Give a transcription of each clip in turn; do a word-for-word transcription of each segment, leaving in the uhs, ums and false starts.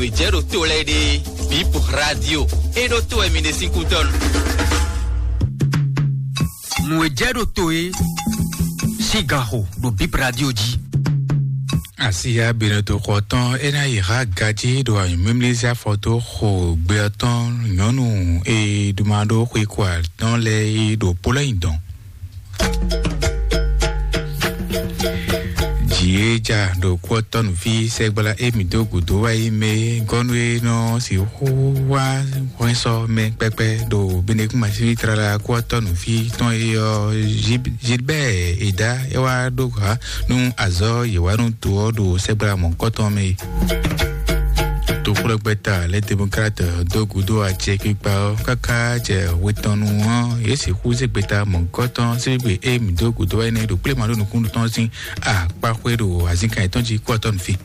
Nǔ e jɛ ɖo to lɛ́ɛ ɖe, Bip Radio. É ɖó to wɛ mi ɖe sín kútɔ́nu. Nǔ e jɛ ɖo to é, sín ganxo ɖo Bip Radio jí. Asiya Benɔto xɔ tɔn é ná yi há gají ɖo anyǔmímlízí afɔ dó xo gbe ɔ́ tɔn nyɔ̌nu e ɖuma ɖó xwe ko atɔ́n lɛ́ɛ é ɖo Polɛ́nyi dɔn. Jǐ e ja ɖo kú ɔ́ tɔ́ nǔví sɛgbla émí dó gǔdo wá yi mɛ gɔ́nú e nɔ sixú wá hwɛ́n sɔ́ mɛ kpɛkpɛ ɖo Benekún Masíví tlala kú ɔ́ tɔ́ nǔví tɔn e ɔ́, Gilbert Eda é wá ɖó ha nú azɔ̌ yě wá nú do ɔ́ ɖo sɛgbla mɔ̌hunkɔtɔn mɛ é. Toxlɔ́gbɛ́ta Les Démocrates dó gǔdo acɛkpikpa ɔ́ káká jɛ hwetɔnnu ɔ́, yě sixú zé gbeta mɔ̌hunkɔtɔn síbígbe e mǐ dó gǔdo wá énɛ́ ɖo kpléma ɖó nukúnnú tɔn sín akpáxwé ɖo azǐnkan yětɔn jí kú ɔ́ tɔ́ nú fí.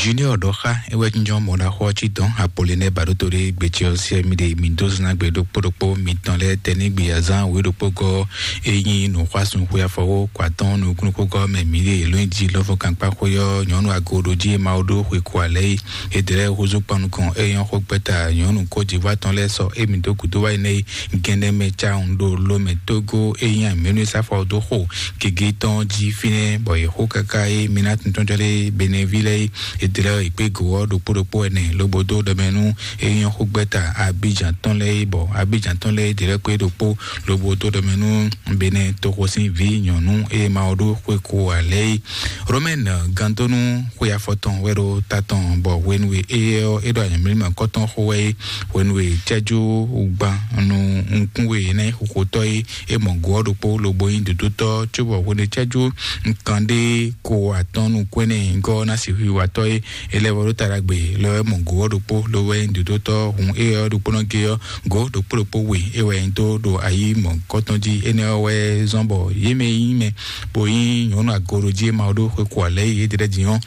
Junior ɖɔ xá é wɛ jínjɔ́n mɔ̌ ná xɔ ɔ́ cí dɔn Apolinɛ Baɖótó ɖé gbecɛ ɔ́ siɛ mì ɖe mǐ dó zɔ́n ná gbe ɖokpó ɖokpó mitɔn lɛ́ɛ tɛnígbe azán wě ɖokpó gɔ́ é nyí nǔxwásún xwe afɔwó kɔ atɔ́n nukúnnú xógɔ́ mɛ mǐ ɖe lónyí jí lɔ́fɔ́kankpá xwé ɔ́ nyɔ̌nu agoɖojí e Mawu ɖó xwe ko alɛ é. Édɛlɛ́ húzú kpan nukɔn é nyɔ́ xó gbɛ́ta nyɔ̌nu kójivɔ atɔn lɛ́ɛ sɔ́ émí dó gǔdo wá yi nɛ́ gɛ́nɛ́ mɛ cawun ɖo lomɛ tógó é nyí amǐnúsáfɔ dó xo gěgé tɔn jí fínɛ́ bɔ yě xó káká é mi ná tuntɔ́n jɔ lé Beneví lɛ́ɛ é. Édɛlɛ́ è kpé gǒ ɔ́ ɖokpó ɖokpó ɛnɛ lobo dó ɖɔmɛ nú é nyɔ́ xó gbɛ́ta Abíjan tɔn lɛ́ɛ é bɔ Abíjan tɔn lɛ́ɛ é dɛlɛ́ kpé ɖokpó lobo dó ɖɔmɛ nú Benɛ toxo sín vǐ nyɔ̌nu e Mawu ɖó xwe ko alɛ é. Romɛn gandónú xwe afɔtɔn wɛ ɖo ta tɔn bɔ hwenu e éyɛ́ ɔ́ é ɖo anyɔ̌mlímɔ kɔ́tɔn xo wɛ é. Hwenu e cɛ́jú gban nú nukún we ná nyí xoxotɔ́ é, é mɔ gǒ ɔ́ ɖokpó lobo nyí dǒdótɔ́ cóbɔ hwenu e cɛ́jú kanɖé ko atɔ́n nukún énɛ́ nyǐgɔ́ ɔ́ ná sixú yi watɔ́ é, é lɛ́ vɔ ɖó ta ɖagbe lɔ wɛ mɔ gǒ ɔ́ ɖokpó lobo wɛ nyí dǒdótɔ́ hun éyɛ́ ɔ́ ɖokpónɔ gé ɔ́ gǒ ɖokpó ɖokpó we é wɛ nyí dó ɖo ayǐ mɔ̌hunkɔtɔn jí. Énɛ́ ɔ́ wɛ zɔ́n bɔ yě mɛ e nyí mɛ bó nyí nyɔ̌nu agoɖojí e Mawu ɖó xwe ko alɛ yě ɖe lɛ́ɛ din ɔ́,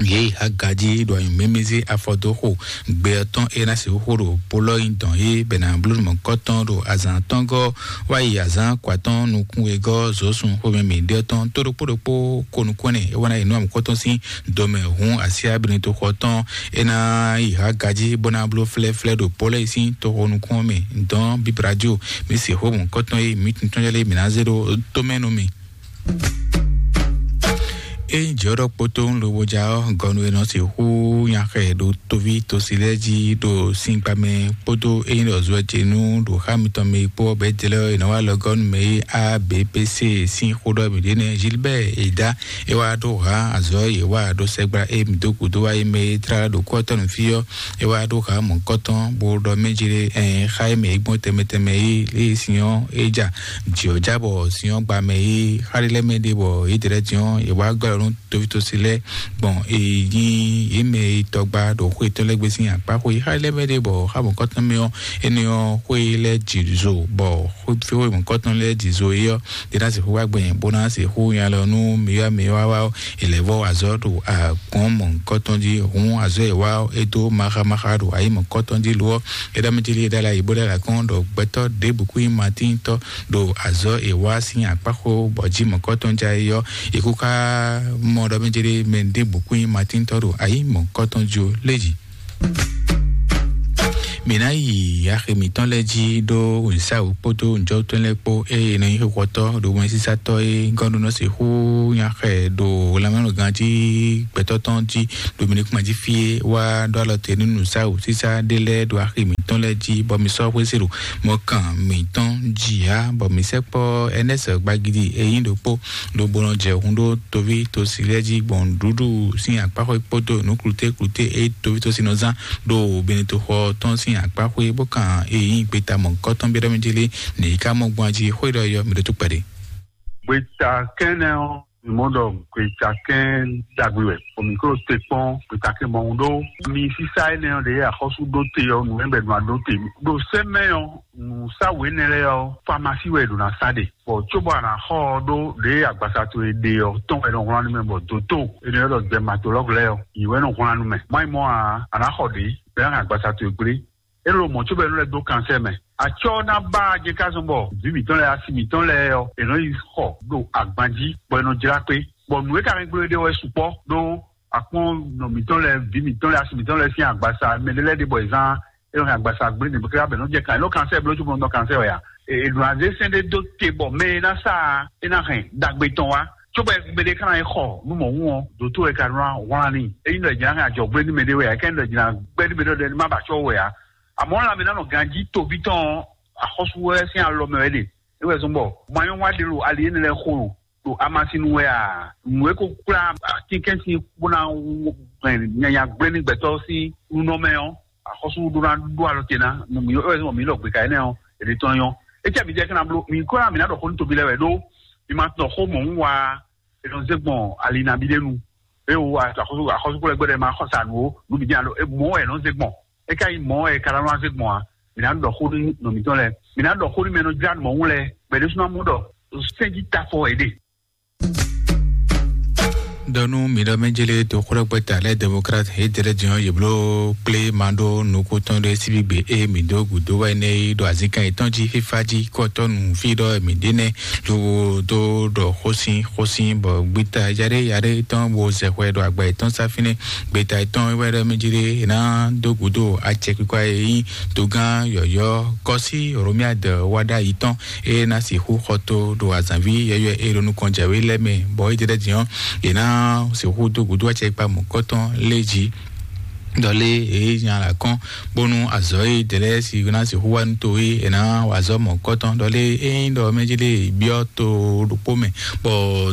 yě yi agají ɖo anyǔmɛ́mɛzé afɔ dó xo gbe ɔ́ tɔn é ná sixú xo ɖo polɔ́ nyi dɔn é bɛ ná bló mɔ̌hunkɔtɔn ɖo azǎn atɔ́ɔ́ngɔ́ wá yi azǎn kɔ atɔ́ɔ́n nukún wegɔ́ zǒsun xomɛ mǐ ɖe ɔ́ tɔn tó ɖokpó ɖokpó ko nukún ɛnɛ é wá ná yi nú amǔkɔtɔn sín dɔmɛ hǔn asyá Benito xɔ tɔn é ná yi há gají bó ná bló flɛ́flɛ́ ɖo Pɔ́lɛ́ sín toxo nukún ɔ́ mɛ dɔn bíbradio mǐ se xó mɔ̌hunkɔtɔn e mǐ tuntun lɛ́ɛ mǐ ná zé ɖó tomɛ nú mì. Ényí jɔ̌ɖɔ kpótó lobo ja ɔ́, gɔnu e nɔ sixú nya xɛ ɖo toví tosi lɛ́ɛ jí ɖo sínkpa mɛ kpódó ényí ɖɔ zɔ ce nú ɖo xá mitɔn mɛ kpó ɔ́ bɛ́ jlɛ́ ɔ́, è nɔ wá lɔ gɔ́nu mɛ e A B P C sín xó ɖɔ mǐ ɖe nɛ́ Gilbert Eda é wá ɖó hǎ azɔ̌ e yě wa ɖó sɛgbla e mǐ dó gǔdo wá yi mɛ e tlá ɖo kú ɔ́ tɔn nú fí ɔ́, é wá ɖó hǎ mɔ̌hunkɔtɔn bó ɖɔ mɛ jí ɖé ɛn xá e mɛ é gbɔn tɛnmɛ tɛnmɛ é lě e sin ɔ́ é ja jǐ ɔ́ já bɔ sin ɔ́ gba mɛ é xá ɖé lɛ́ɛ mɛ ɖé bɔ yě dɛ́ lɛ́ɛ din ɔ́ yě wá gbɛ́ lɔ nú tovítɔ́sí lɛ́ɛ gbɔn è nyí yě mɛ e tɔgba ɖo xwé tɔn lɛ́ɛ gbé sín akpá xwé xá lɛ́ɛ mɛ ɖé bɔ xá mɔ̌kɔtɔn mɛ ɔ́, énɛ́ ɔ́ xwé lɛ́ɛ jǐ zo bɔ xwé mɔ̌kɔtɔn lɛ́ɛ jǐ zo é ɔ́, é ná sixú wá gbɛn bó ná sixú nya lɔ nú mǐwá mǐwá wá ɔ́, è lɛ̌ vɔ́ azɔ̌ ɖo agbɔ̌n mɔ̌kɔtɔn jí hǔn azɔ̌ e wá ɔ́, é dó maxámaxá ɖo ayǐ mɔ̌kɔtɔn jí lo ɔ́, é ɖɔ mɛ jí lí é ɖó alɔ ayǐ bó ɖó alɔ akɔ́n ɖɔ gbɛtɔ́ ɖěbǔ kú nyí Matíntɔ́ ɖo azɔ̌ e wá sín akpáxó bɔ jí mɔ̌kɔtɔn já é ɔ́, è kú ká mɔ ɖɔ mɛ jí ɖé mɛ ɖěbǔ kú nyí Matíntɔ́ ɖo ayǐ mɔ̌kɔtɔn jí ó lé jí. Mǐ ná yi axi mǐtɔn lɛ́ɛ jí ɖó wěnsáwǔ kpódó nǔjɔtɔ́ lɛ́ɛ kpó ée è nɔ nyí xixɔtɔ́ ɖo wɛnsísátɔ́ e gɔ́ ɖó nɔ sixú nya xɛ ɖo lanmɛnɔgán jí gbɛtɔ́ tɔn jí ɖo mǐ ní kún jí fí é wá ɖó alɔ te nú nǔsáwǔ sísá ɖé lɛ́ɛ ɖo axi mǐtɔn lɛ́ɛ jí bɔ mi sɔ́ xwésí ɖo mɔkan mǐtɔn jí ǎ bɔ mǐ sɛkpɔ́ Ɛnɛ́sɛ gbagidi e nyí ɖokpó lobo nɔ jɛ hun ɖó toví tosi lɛ́ɛ jí gbɔn nǔɖuɖu sín akpáxwé kpódó nǔ kluté kluté e toví tosi nɔ zán ɖo Benetoxɔ tɔn sín akpáxwé bó kan e nyí gbeta mɔ̌hunkɔtɔn byɔ́ mɛ jí lé nǐ ká mɔ gbɔn jí xwé ɖɔ yɔ mǐ ɖó tó kpɛɖé. Gbeta kɛnɛ ɔ́, mi mɔ ɖɔ gbeta kɛn ɖagbe wɛ, bɔ mi klo te kpɔn gbeta kɛn mɔ ɖó mi sísá énɛ́ ɔ́ ɖe axɔ́sú ɖó te ɔ́, nǔ mɛ bɛ nɔ aɖó te ɖo sɛmɛ ɔ́, nǔsáwǔ énɛ́ lɛ́ɛ ɔ́, famasi wɛ è ɖǒ ná sa ɖe. Bɔ cóbɔ a nǎ xɔ ɔ́ ɖó ɖě agbaza towe ɖe ɔ́ tɔn wɛ nɔ wlán nú mɛ bɔ dǒtó è nɔ ylɔ́ ɖɔ gbɛmatolɔ́gu lɛ́ɛ ɔ́, yě wɛ nɔ wlán nú mɛ. Má nyí mɔ̌ ǎ, a nǎ xɔ ɖě bɔ é ná hɛn agbaza towe gblé. É ló mɔ̌ cóbɔ é nɔ lɛ́ dó kansɛ́ mɛ. Atsɔ ná ba jɛ ká zɔn bɔ vǐ mǐtɔn lɛ́ɛ, asi mǐtɔn lɛ́ɛ ɔ́, è nɔ yi xɔ ɖo agban jí, bɔ è nɔ jlá kpé. Bɔ nǔ e ka hɛn gbló ɖe wɛ sukpɔ́ ɖó akpɔ́n nɔ mǐtɔn lɛ́ɛ, vǐ mǐtɔn lɛ́ɛ, asi mǐtɔn lɛ́ɛ sín agbasa, mɛ ɖé lɛ́ɛ ɖe bɔ è zán é nɔ hɛn agbasa gblé nǐ bó ká bɛ nɔ jɛ kan, é nɔ kansɛ́ bló cóbɔ nɔ kansɛ́ wɛ a? È nɔ azé sɛn ɖé dó te bɔ mɛ e ná sa ɛ ná hɛn ɖagbe tɔn wá. Cóbɔ mɛ ɖé ka ná yi xɔ nú mɔ̌ wún ɔ́, dǒtó wɛ ka nɔ wlán n'i. Ényí ɖɔ è jǐ ná hɛn ajɔ̌gbé nú mɛ ɖé wɛ a, é ká nyí ɖɔ è jǐ ná gbɛ́ nú mɛ ɖé ɖɔ ní má ba acɔ́ wɛ a. Amɔ̌, lanmɛ ná nɔ ganjí toví tɔn ɔ́, axɔ́sú wɛ sín alɔ mɛ wɛ é ɖe. É wɛ zɔ́n bɔ manyɔ́wa ɖé ɖo ali énɛ́ lɛ́ɛ xo ɖo ɖo amasin nu wɛ a? Nǔ e ko kplá atínkɛ́nsin bó ná hɛn nyanya gblé nú gbɛtɔ́ sín nunɔmɛ ɔ́, axɔ́sú ɖó ná ɖó alɔ te ná nú mǐ, é wɛ zɔ́n bɔ mǐ ɖɔ gbeka énɛ́ ɔ́, è ɖe tɔn nyɔ́. É cɛ mǐ jɛ kɛ́ ná bló, mǐ kó ná mǐ ná ɖɔ xó nú toví lɛ́ɛ wɛ ɖó mi ma tɔ xó mɔ̌ wá, è nɔ zé gbɔn ali nabí ɖé nu. É wo axɔ́sú, axɔ́súkplɔ́gbɛ́ ɖɛ́ ma xɔ sa nǔ ó, nǔ bǐ jɛ́n alo mɔ̌ wɛ è nɔ zé gbɔn. É ka nyí mɔ̌ wɛ è ka ná nɔ zé gbɔn ǎ. Mǐ ná ɖɔ xó nú nɔ mǐtɔn lɛ́ɛ. Mǐ ná ɖɔ xó nú mɛ e nɔ jlá nǔ mɔ̌ wú lɛ́ɛ, bɔ è ɖésú ná mɔ ɖɔ sɛ́n jí tafɔ è ɖe. Dɔnú mi ɖɔ mɛ jele to xlɔ́gbɛ́ta lɛ démocrate e dɛlɛ din ɔ́, yě bló kplé ma ɖó nukúntɔn ɖé síbígbe e mi dó gǔdo wɛ nɛ yi ɖo azínkan yětɔn jí fífá jí kɔtɔnu fí ɖɔ mi ɖe nɛ. Lobo dó ɖɔ xósin xósin bɔ gbita yaɖé yaɖé tɔn bo zɛ xwɛ ɖo agba yětɔn sá fínɛ́. Gbeta yětɔn wɛ ɖɔ mɛ jele ná dó gǔdo acɛkpikpa e nyí dogán yɔ̌yɔ́ kɔsí Romiade wá ɖ'ayǐ tɔn e ná sixú xɔ tó ɖo azǎnví yɔ̌yɔ́ e ɖo nukɔn jǎwe lɛ́ɛ mɛ, bɔ é jɛ ɖɛ́ din ɔ́, è nǎ sixú dó gǔdo acɛ kpa mɔ̌kɔtɔn lé jí. Ɖɔlé èyí nya la kɔn bónú azɔ̌ e dɛlɛ si ná sixú wá nú to e è nǎ wa azɔ̌ mɔ̌kɔtɔn. Ɖɔlé ényí ɖɔ mɛ jí lé byɔ́ to ɖokpó mɛ, bɔ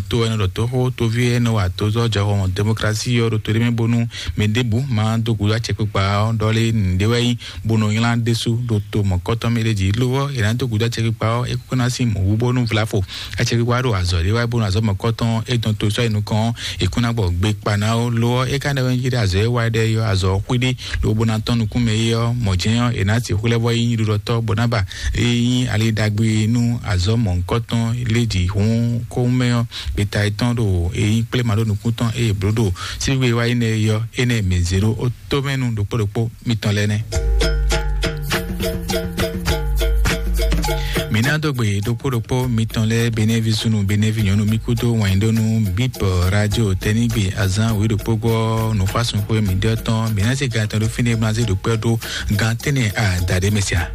to ɛnɛ ɖɔ tóxó toví e nɔ wa tozɔ́ jɔxɔ démocratie ɔ́ ɖo to ɖé mɛ bónú mɛ ɖěbǔ má dó gǔdo acɛkpikpa ɔ́, ɖɔlé nǔɖé wɛ nyí bó nɔ nylá ɖésú ɖo to mɔ̌kɔtɔn mɛ ɖé jí. Lo ɔ́, è nǎ dó gǔdo acɛkpikpa ɔ́, é kún ná sín mɔ̌ wú bónú vlafo acɛkpikpa ɖo azɔ̌ ɖé wá bónú azɔ̌ mɔ̌kɔtɔn é dɔn to sɔ́ yi nukɔn ɔ́, è kún ná gbɔ gbe kpa ná ó. Lo ɔ́, é ka ɖɔ wɛ jí ɖɔ azɔ̌ e wá ɖɛ ɔ́, azɔ̌ xwíɖí lobo ná tɔ́n nukún mɛ é ɔ́, mɔ̌ jɛ́n ɔ́, è nǎ sixú lɛ́ vɔ nyí ɖuɖɔtɔ́ bó ná ba é nyí ali ɖagbe nú azɔ̌ mɔ̌kɔtɔn lé jí hǔn kóhún mɛ ɔ́, gbeta yětɔn ɖo é nyí kplé ma ɖó nukún tɔn eye bló ɖo síwígbe wá yi nɛ é ɔ́, énɛ́ mǐ zé ɖó ó tómɛnu ɖokpó ɖokpó mitɔn lɛ́ɛ nɛ́. Mǐ ná dó gbe ɖokpó ɖokpó mitɔn lɛ́ɛ, Benɛ́vi súnnu, Benɛ́vi nyɔ̌nu, mì kúdó wɛnɖónú Bíp Radio tɛ́nigbe azán wǐ ɖokpó gbɔ nǔxwásúnxwé mǐɖɔtɔn. Mǐ ná zé gan tɔn ɖó fínɛ́, mǐ ná zé ɖokpó ɖó gan tɛ́nnɛ adaɖé mɛ sia.